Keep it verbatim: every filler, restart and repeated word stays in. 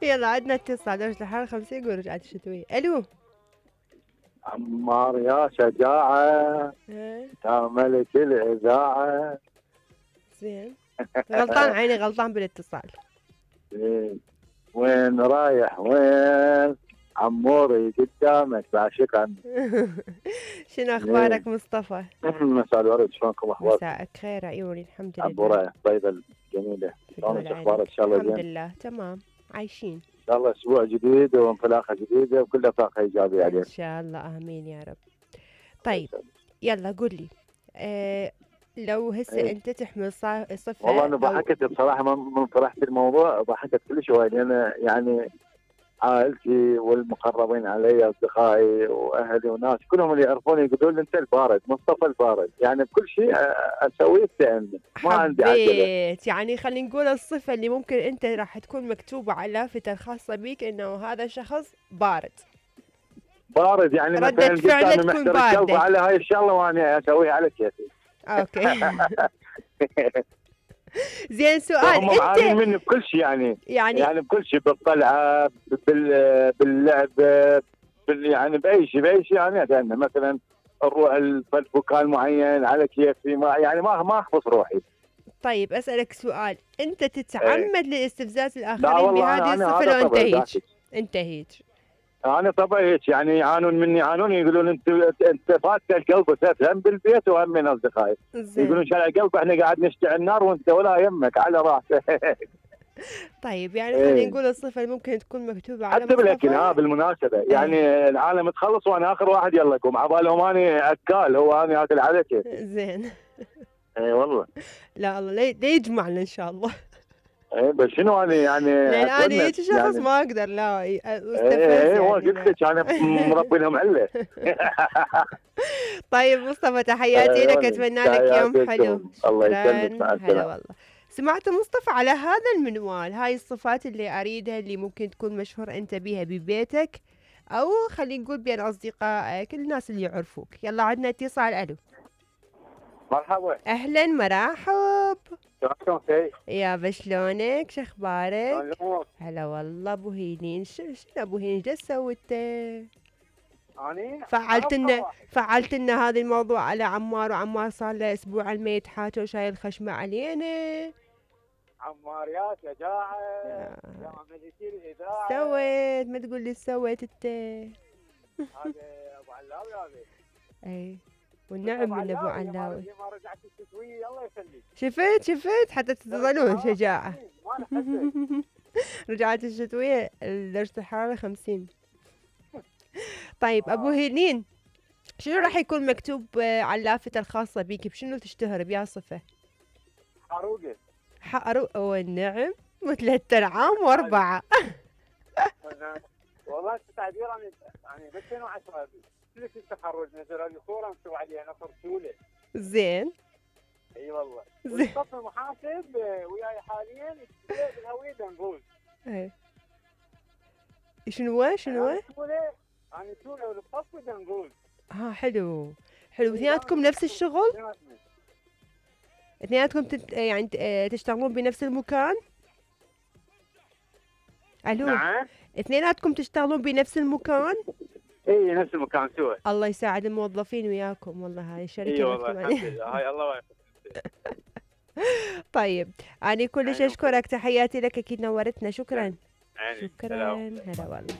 يلا عندنا اتصال درجة الحرارة خمسين يقول رجعت الشتوية. الو عمار يا شجاعة ها يا ملك الإذاعة. زين غلطان عيني غلطان بالاتصال. إيه. وين رايح وين عموري قدامك بعشقا. شنو اخبارك مصطفى؟ مساء الورد شلونكم اخباركم؟ مساءك خير عيوني الحمد لله. عبورة الطيبة الجميلة شلونك اخبارك؟ ان شاء الله الحمد زين؟ لله تمام عايشين ان شاء الله اسبوع جديد وانطلاقة جديدة وكلها طاقة ايجابية عليك ان شاء الله امين يا رب. طيب يلا قول لي أه لو هسه ايه. انت تحمل صا- صفة والله انا أو- ضحكت بصراحة من فرحت الموضوع ضحكت كل شوي لان يعني عائلتي والمقربين علي اصدقائي واهلي وناس كلهم اللي يعرفوني يقولون لي انت البارد مصطفى البارد يعني بكل شيء اسويه استعني ما عندي عجله. حبيت يعني خلينا نقول الصفة اللي ممكن انت راح تكون مكتوبة على لافتة الخاصة بيك انه هذا شخص بارد. بارد يعني ردة مثلا فعله قدامي تكون محتر الشوفه باردة. على هاي الشغله وانا اسويها على كيفي. اوكي زين سؤال هم معانين انت مني بكل شيء يعني يعني يعني بكل شيء بالطلعه بال باللعب بال يعني باي شيء باي شيء انا يعني مثلا نروح المكان معين على كيفي ما يعني ما ما اخبص روحي. طيب اسألك سؤال انت ايه. تتعمد لاستفزاز لا الاخرين والله بهذه انا الصفة هذا لو انت طبعي هيك ذاتي. انت هيك انا طبعي هيك يعني يعانون مني يعانون يقولون انت انت فاتك القلب وتفهم بالبيت وهم من اصدقائي يقولون زين. شارع القلب احنا قاعد نشتعل النار وانت ولا يمك على راسك. طيب يعني خلينا ايه. نقول الصفة اللي ممكن تكون مكتوبة على حتى بالاكل ها مصطفى. بالمناسبه ايه. يعني العالم تخلص وانا اخر واحد يلا قوم عبالهم اني اكال هو اني اكل على كيفي. زين اي والله. لا الله لا لا يجمعنا ان شاء الله. اي بس شنو انا يعني لان انا اتونس هيك شخص يعني. ما اقدر لا اي استفز اي هو يعني قلت لك انا مربي لهم عله. طيب مصطفى تحياتي لك اتمنى لك يوم حلو. الله شكرا يسلمك مع هلا السلامه. والله. سمعت مصطفى على هذا المنوال هاي الصفات اللي اريدها اللي ممكن تكون مشهور انت بيها ببيتك او خلينا نقول بين اصدقائك الناس اللي يعرفوك. يلا عندنا اتصال. الو مرحبا. اهلا مرحب. شلونكم سي؟ يابا شلونك شخبارك؟ شلون الامور؟ هلا والله ابو هيلين. شو شنو ابو هيلين ايش سويت؟ اني فعلت لنا فعلت لنا هذا الموضوع على عمار وعمار صار له اسبوع ما يتحاكى وشايل الخشمه علينا. عمار يا شجاعه آه. يا ملكي الاذاعه. سويت ما تقول لي سويت انت. هذا ابو علاوي هذا. اي والنعم من ابو علاوي. ما رجعت التسويه الله يخليك. شفت شفت حتى تظلون شجاعه. ما نحسن. رجعت الشتويه درجه الحراره خمسين. طيب ابو هيلين شنو راح يكون مكتوب على اللافتة الخاصة بيك بشنو تشتهر بيا صفة؟ حروقه. حروق والنعم وثلاث ارعام واربعة. والله التعبير انا يعني بس انا عشرة كلش التخرج نزل لي صورة مكتوب عليها نصر سولة. زين. اي والله. زين. والصف المحاسب وياي حاليا بالهوية دنقول. اي. شنو شنو؟ انا سولة انا سولة والصف دنقول. ها حلو حلو. اثنيناتكم نفس الشغل؟ اثنيناتكم تت... يعني تشتغلون بنفس المكان؟ الو نعم. اثنيناتكم تشتغلون بنفس المكان؟ اي نفس المكان سوا. الله يساعد الموظفين وياكم والله هاي الشركة. اي والله الحمد لله هاي الله واقف. طيب أنا كلش أشكرك تحياتي لك أكيد نورتنا. شكرا. يعني شكرا هلا والله.